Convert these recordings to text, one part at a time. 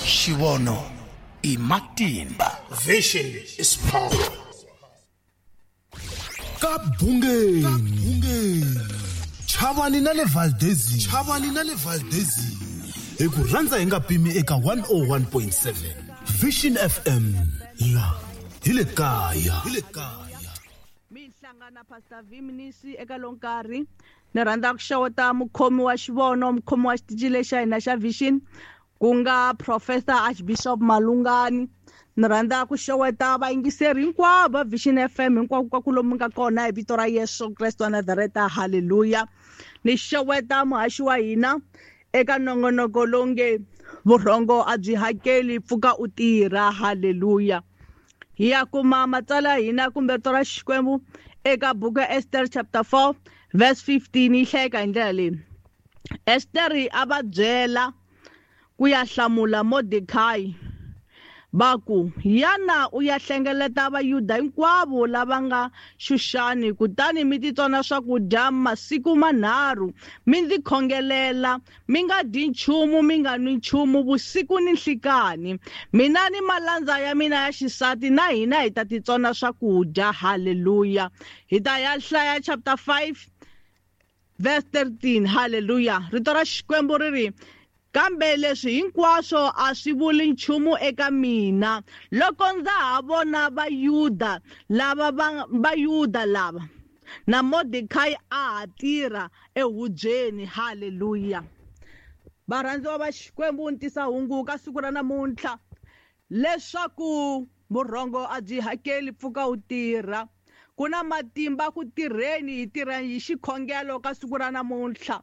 Xivono i matimba. Vision is power. Ka bungeni, chavani na le Valdezini, chavani na le Valdezini, hi ku rhandza hi nga pimi eka 101.7 Vision FM, la hi le kaya, hi le kaya. Mi hlangana Pastor V Mnisi eka lowu nkarhi. Ni rhandza ku xeweta mukhomi wa xivono, mukhomi wa xitichi lexi xa hina xa Vision, ku nga Professor Archbishop Malungani. Ni rhandza ku xeweta vayingiseri hinkwavo va Vision FM hinkwako ka ku lomu nga kona hi vito ra Yesu Kreste wa Nazareta, haleluya. Ni xeweta muhaxi wa hina eka nongonoko lowu nge vurhongo a byi hakeli, pfuka u tirha, haleluya. Hi ya kuma matsalwa ya hina kumbe rito ra Xikwembu eka buku ya Esther chapter 4 verse 15, yi hlayeka hi ndlela leyi. Esther a va byela ku ya hlamula Mordekai va ku, yana u ya hlengeleta Vayuda hinkwavo lava nga Xuxani, kutani mi titsona swakudya masiku manharhu, mi ndzi khongelela, mi nga dyi nchumu, mi nga nwi nchumu vusiku ni nhlikani. Mina ni malandza ya mina ya xisati na hina hi ta titsona swakudya. Haleluya. Hi ta ya hlaya chapter 5 verse 13. Haleluya. Rito ra Xikwembu ri ri, kambe leswi hinkwaswo a swi vuli nchumu eka mina loko ndza ha vona Vayuda lava va Vayuda lava na Mordekai a ha tirha ehubyeni. Haleluya. Varhandziwa va Xikwembu, ni tisa hungu ka siku ra namuntlha leswaku vurhongo a byi hakeli, pfuka u tirha. Ku na matimba ku tirheni, hi tirha hi xikhongelo ka siku ra namuntlha.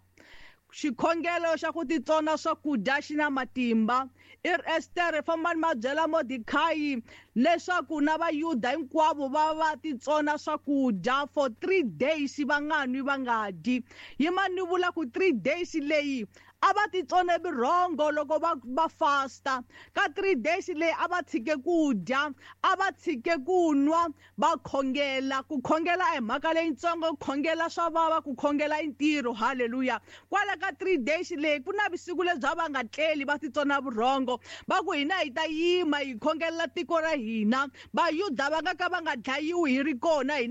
Xikhongelo xa ku titsona swakudya xi na matimba. I ri Estere, fambani ma byela Mordekai leswaku na Vayuda hinkwavo va va titsona swakudya for 3 days, va nga nwi va nga dyi. Yimani ni vula ku 3 days leyi a va titsone vurhongo loko va fasta. Ka 3 days leyi a va tshike ku dya, a va tshike ku nwa, va khongela. Ku khongela a hi mhaka leyitsongo, ku khongela swa vava, ku khongela i ntirho. Haleluya. Kwala ka 3 days leyi ku na vusiku lebyi a va nga tleli, va titsona vurhongo, va ku hina hi ta yima hi khongelela tiko ra hina, Vayuda va nga ka va nga dlayiwi hi ri kona hina.